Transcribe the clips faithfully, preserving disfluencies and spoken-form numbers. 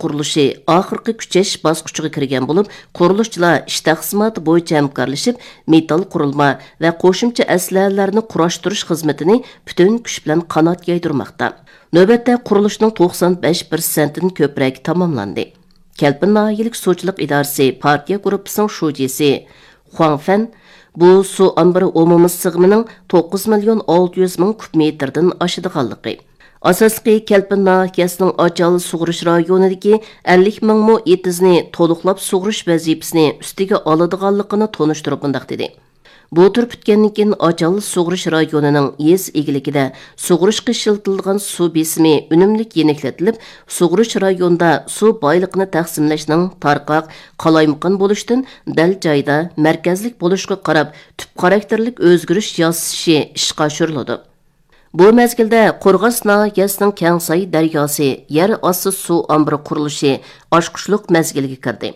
قۇرۇلۇشى ئاخىرقى كۈچەش باسقۇچىغا كىرگەن بولۇپ، قۇرۇلۇشچىلار ئىش تەقسىماتى بويىچە ھەمكارلىشىپ، مېتال قۇرۇلما ۋە قوشۇمچە ئەسلىھەلەرنى قۇراشتۇرۇش خىزمىتىنى پۈتۈن كۈچ بىلەن قانات يايدۇرماقتا. نۆۋەتتە قۇرۇلۇشنىڭ توقسان بەش پىرسەنتتىن كۆپرەك تاماملاندى. كەلپىن ناھىيەلىك سۇچىلىق ئىدارىسى پارتىيە گۇرۇپپىسىنىڭ شۇجىسى خۇاڭ فەن بۇ سۇ ئامبىرى ئومۇمىي سىغىمىنىڭ توققۇز مىليون ئالتە يۈز مىڭ كۇب مېتىردىن ئاشىدىغانلىقى، ئاساسلىقى كەلپىن ناھىيەسىنىڭ ئاچال سۇغىرىش رايونىدىكى ئەللىك مىڭ مو ئېتىزنى تولۇقلاپ سۇغىرىش ۋەزىپىسىنى ئۈستىگە ئالىدىغانلىقىنى تونۇشتۇرۇپ مۇنداق دېدى. بۇ تۈر پۈتكەندىن كېيىن، ئاچال سۇغىرىش رايونىنىڭ يېزا ئىگىلىكىدە سۇغىرىشقا ئىشلىتىلىدىغان سۇ بېسىمى ئۈنۈملۈك يېنىكلىتىلىپ، سۇغىرىش رايونىدا سۇ بايلىقىنى تەقسىملەشنىڭ تارقاق، قالايمىقان بولۇشتىن دەل جايىدا مەركەزلىك بولۇشقا قاراپ، تۈپ خاراكتېرلىك ئۆزگىرىش ياسىشى ئىشقا ئاشۇرۇلىدۇ. بۇ مەزگىلدە قورغاس ناھىيەسىنىڭ كەڭساي دەرياسى يەر ئاستى سۇ ئامبىرى قۇرۇلۇشى ئاچقۇچلۇق مەزگىلگە كىردى.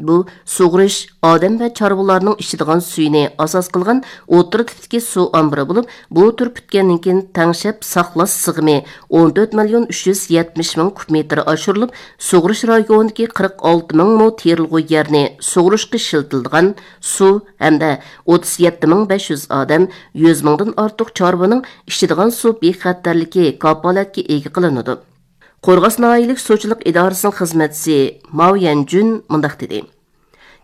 بۇ سۇغىرىش، ئادەم ۋە چارۋىلارنىڭ ئىچىدىغان سۈيىنى ئاساس قىلغان ئوتتۇرا تىپتىكى سۇ ئامبىرى بولۇپ، بۇ تۈر پۈتكەندىن كېيىن تەڭشەپ ساقلاش سىغىمى ئون تۆت مىليون ئۈچ يۈز يەتمىش مىڭ كۇب مېتىر ئاشۇرۇلۇپ، سۇغىرىش رايونىدىكى قىرىق ئالتە مىڭ مو تېرىلغۇ يەرنى سۇغىرىشقا ئىشلىتىلىدىغان سۇ ھەمدە ئوتتۇز يەتتە مىڭ بەش يۈز ئادەم، يۈز مىڭدىن ئارتۇق چارۋىنىڭ ئىچىدىغان سۇ بىخەتەرلىكى كاپالەتكە ئىگە قىلىنىدۇ. قورغاس ناھىيەلىك سۇچىلىق ئىدارىسىنىڭ خىزمەتچىسى ماۋ يەنجۈن مۇنداق دېدى: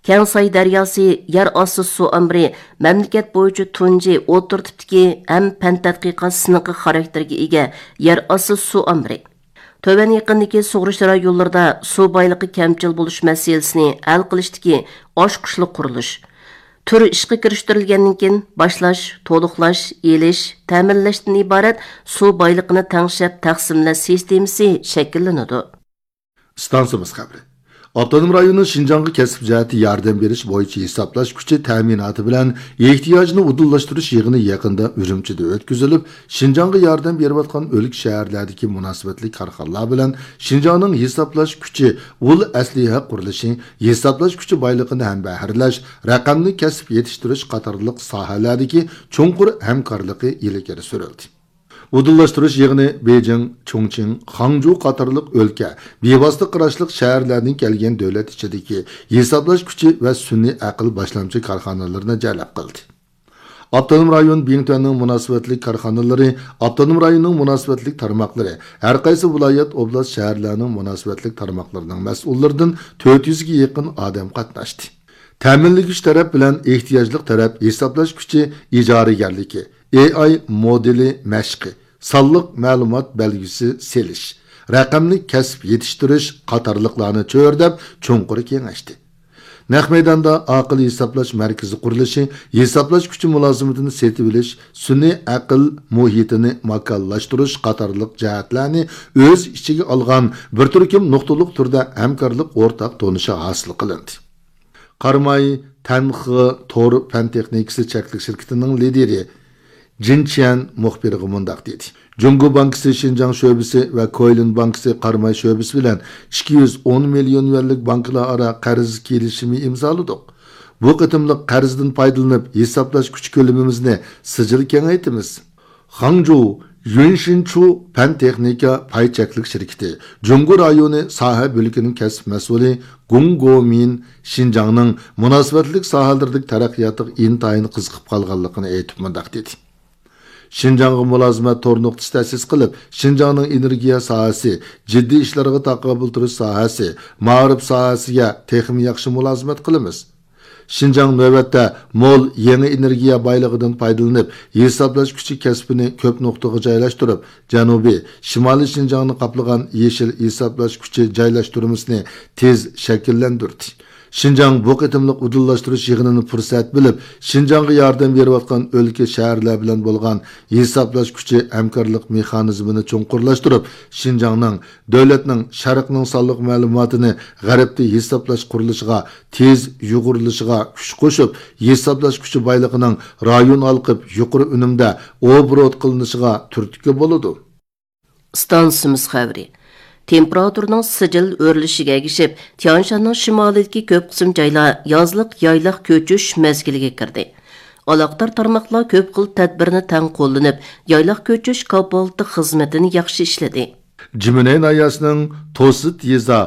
كەڭساي دەرياسى يەر ئاستى سۇ ئامبىرى مەملىكەت بويىچە تۇنجى ئوتتۇرا تىپتىكى ھەم پەن تەتقىقات سىنىقى خاراكتېرىگە ئىگە يەر ئاستى سۇ ئامبىرى. تۆۋەن يېقىندىكى سۇغىرىش رايونلىرىدا سۇ بايلىقى كەمچىل بولۇش مەسىلىسىنى ھەل قىلىشتىكى ئاچقۇچلۇق قۇرۇلۇش. تۈر ئىشقا كىرىشتۈرۈلگەندىن كېيىن، باشلاش، تولۇقلاش، ئېلىش، تەمىنلەشتىن ئىبارەت سۇ بايلىقىنى تەڭشەپ تەقسىملەش سىستېمىسى شەكىللىنىدۇ. ئىستانسىمىز خەۋىرى. ئاپتونوم رايوننىڭ شىنجاڭغا كەسىپ جەھەتتە ياردەم بېرىش بويىچە ھېسابلاش كۈچى تەمىناتى بىلەن ئېھتىياجنى ئۇدۇللاشتۇرۇش يىغىنى يېقىندا ئۈرۈمچىدە ئۆتكۈزۈلۈپ، شىنجاڭغا ياردەم بېرىۋاتقان ئۆلكە، شەھەرلەردىكى مۇناسىۋەتلىك كارخانىلار بىلەن شىنجاڭنىڭ ھېسابلاش كۈچى ئۇل ئەسلىھە قۇرۇلۇشى، ھېسابلاش كۈچى بايلىقىنى ھەمبەھىرلەش، رەقەملىك كەسىپ يېتىشتۈرۈش قاتارلىق ساھەلەردىكى چوڭقۇر ھەمكارلىقى ئىلگىرى سۈرۈلدى. ئۇدۇللاشتۇرۇش يىغىنى بېيجىڭ، چۇڭچىڭ، خاڭجۇ قاتارلىق ئۆلكە، بىۋاسىتە قاراشلىق شەھەرلەردىن كەلگەن دۆلەت ئىچىدىكى ھېسابلاش كۈچى ۋە سۈنئىي ئەقىل باشلامچى كارخانىلىرىنى جەلپ قىلدى. ئاپتونوم رايون بىڭتۈەننىڭ مۇناسىۋەتلىك كارخانىلىرى، ئاپتونوم رايوننىڭ مۇناسىۋەتلىك تارماقلىرى، ھەر قايسى ۋىلايەت، ئوبلاست، شەھەرلەرنىڭ مۇناسىۋەتلىك تارماقلىرىنىڭ مەسئۇللىرىدىن تۆت يۈزگە يېقىن ئادەم قاتناشتى. تەمىنلىگۈچ تەرەپ بىلەن ئېھتىياجلىق تەرەپ ھېسابلاش كۈچى ئىجارىگەرلىكى، ئېي ئاي مودېلى مەشقى، سانلىق مەلۇمات بەلگىسى سېلىش، رەقەملىك كەسىپ يېتىشتۈرۈش قاتارلىقلارنى چۆرىدەپ چوڭقۇر كېڭەشتى. نەق مەيداندا ئاقىل ھېسابلاش مەركىزى قۇرۇلۇشى، ھېسابلاش كۈچى مۇلازىمىتىنى سېتىۋېلىش، سۈنئىي ئەقىل مۇھىتىنى ماكانلاشتۇرۇش قاتارلىق جەھەتلەرنى ئۆز ئىچىگە ئالغان بىر تۈركۈم نۇقتىلىق تۈردە ھەمكارلىق ئورتاق تونۇشى ھاسىل قىلىندى. قاراماي تەنخې تور پەن تېخنىكىسى چەكلىك شىركىتىنىڭ لىدىرى جىن چيەن مۇخبىرغا مۇنداق دېدى: جۇڭگو بانكىسى شىنجاڭ شۆبىسى ۋە كويلىن بانكىسى قاراماي شۆبىسى بىلەن ئىككى يۈز ئون مىليون يۈەنلىك بانكىلار ئارا قەرز كېلىشىمى ئىمزالىدۇق. بۇ قېتىملىق قەرزدىن پايدىلىنىپ، ھېسابلاش كۈچ كۆلىمىمىزنى سىجىل كېڭەيتىمىز. خاڭجۇ يۈنشىنچۇ پەن تېخنىكا پاي چەكلىك شىركىتى جۇڭگو رايونى ساھە بۆلىكىنىڭ كەسىپ مەسئۇلى گۇڭ گومىن شىنجاڭنىڭ مۇناسىۋەتلىك ساھەلىرىدىكى تەرەققىياتىغا ئىنتايىن قىزىقىپ قالغانلىقىنى ئېيتىپ مۇنداق دېدى: شىنجاڭغا مۇلازىمەت تور نۇقتىسى تەسىس قىلىپ، شىنجاڭنىڭ ئېنېرگىيە ساھەسى، جىددىي ئىشلارغا تاقابىل تۇرۇش ساھەسى، مائارىپ ساھەسىگە تېخىمۇ ياخشى مۇلازىمەت قىلىمىز. شىنجاڭ نۆۋەتتە مول يېڭى ئېنېرگىيە بايلىقىدىن پايدىلىنىپ، ھېسابلاش كۈچى كەسپىنى كۆپ نۇقتىغا جايلاشتۇرۇپ، جەنۇبىي، شىمالىي شىنجاڭنى قاپلىغان يېشىل ھېسابلاش كۈچى جايلاشتۇرمىسىنى تېز شەكىللەندۈردى. شىنجاڭ بۇ قېتىملىق ئۇدۇللاشتۇرۇش يىغىنىنى پۇرسەت بىلىپ، شىنجاڭغا ياردەم بېرىۋاتقان ئۆلكە، شەھەرلەر بىلەن بولغان ھېسابلاش كۈچى ھەمكارلىق مېخانىزمىنى چوڭقۇرلاشتۇرۇپ، شىنجاڭنىڭ دۆلەتنىڭ شەرقنىڭ سانلىق مەلۇماتىنى غەربتە ھېسابلاش قۇرۇلۇشىغا تېز يۇغۇرۇلۇشىغا كۈچ قوشۇپ، ھېسابلاش كۈچى بايلىقىنىڭ رايون ھالقىپ يۇقىرى ئۈنۈمدە ئوبوروت قىلىنىشىغا تۈرتكە بولىدۇ. ئىستانسىمىز خەۋىرى. تېمپېراتۇرىنىڭ سىجىل ئۆرلىشىگە ئەگىشىپ، تيانشاننىڭ شىمالىدىكى كۆپ قىسىم جايلار يازلىق يايلاق كۆچۈش مەزگىلىگە كىردى. ئالاقىدار تارماقلار كۆپ خىل تەدبىرنى تەڭ قوللىنىپ، يايلاق كۆچۈش كاپالىتى خىزمىتىنى ياخشى ئىشلىدى. جىمىنەي ناھىيەسىنىڭ توسىت يېزا